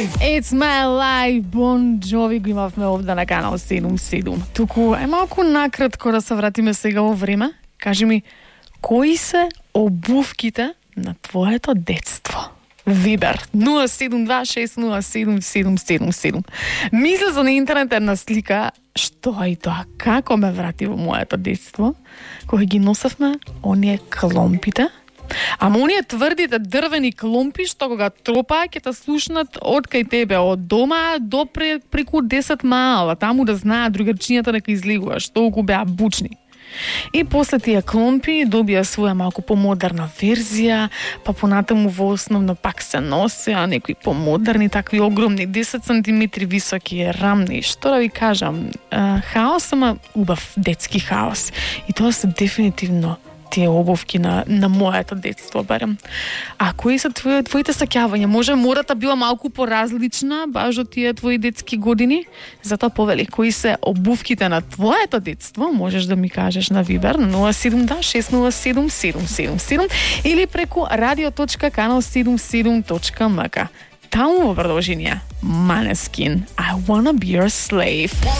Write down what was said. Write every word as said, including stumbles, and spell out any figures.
It's my life, Bon Jovi го имавме овде на канал седум седум. Туку е малку накратко да се вратиме сега во време. Кажи ми, кои се обувките на твоето детство? Вибер нула седум два шест нула седум седум седум седум. Мисля за на интернет една слика, што е тоа, како ме врати во моето детство, кога ги носевме оние кломпите. Ама оние тврдите дрвени кломпи што кога тропа ќе те слушнат од кај тебе, од дома до преку десет маала, таму да знаат другарчињата дека излегуваш, толку беа бучни. И после тие кломпи добија своја малку помодерна верзија, па понатаму во основно пак се носеа некои помодерни, такви огромни, десет сантиметри високи, рамни, што да ви кажам, хаос, ама убав детски хаос. И тоа се дефинитивно тие обувки на, на моето детство, барем. А кои се твои, твоите саќавања? Може модата била малку поразлична, баш од тие твои детски години? Затоа повели, кои се обувките на твоето детство? Можеш да ми кажеш на Вибер на нула седум два шест нула седум седум седум седум или преку радио точка канал седум седум точка ем ка. Таму во продолжение Måneskin, I wanna be your slave.